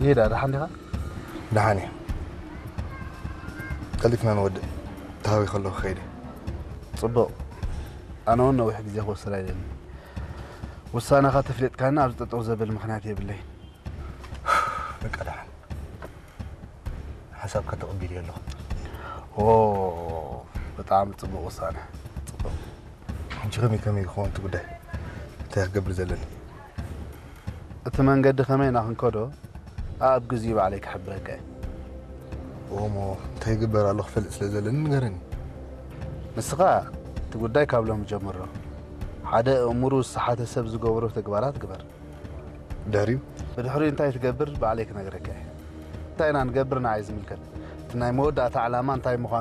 ይሄዳ ደሓን ዲኻ? ደሓን እየ። ቀልጢፍና ንወድእ። ተሃዊ ከለኹ ከይደ። ጽቡቕ። ኣነ እውን ነዊሕ ግዜ ክወስድ ኣይደልን። ውሳነኻ ተፍሊጥካኒ ኣብዚ ጠጠው ዘብል ምኽንያት የብለይ። በቃ ደሓን። ሓሳብካ ተቐቢል ኣለኹ። ኦ፣ ብጣዕሚ ጽቡቕ ውሳነ። ጽቡቕ። ሕጂ ከመይ ከመይ ክኸውን እቲ ጉዳይ? እንታይ ክገብር ዘለኒ? እቲ መንገዲ ከመይ ኢና ክንከዶ ኣብ ግዜኡ ባዕለይ ክሕብረካ እየ። እሞ እንታይ ይግበር ኣሎ ክፈልጥ ስለ ዘለኒ ንገረኒ። ንስኻ እቲ ጉዳይ ካብ ሎም ጀምሮ። ሓደ እምሩ ዝሰሓተ ሰብ ዝገብሮ ተግባራት ግበር። ድሕሪኡ ብድሕሪኡ እንታይ ትገብር ባዕለይ ክነግረካ እየ። እንታይ ኢና ንገብር ንዓይ ዝምልከት። እቲ ናይ መወዳእታ ዕላማ እንታይ ምዃኑ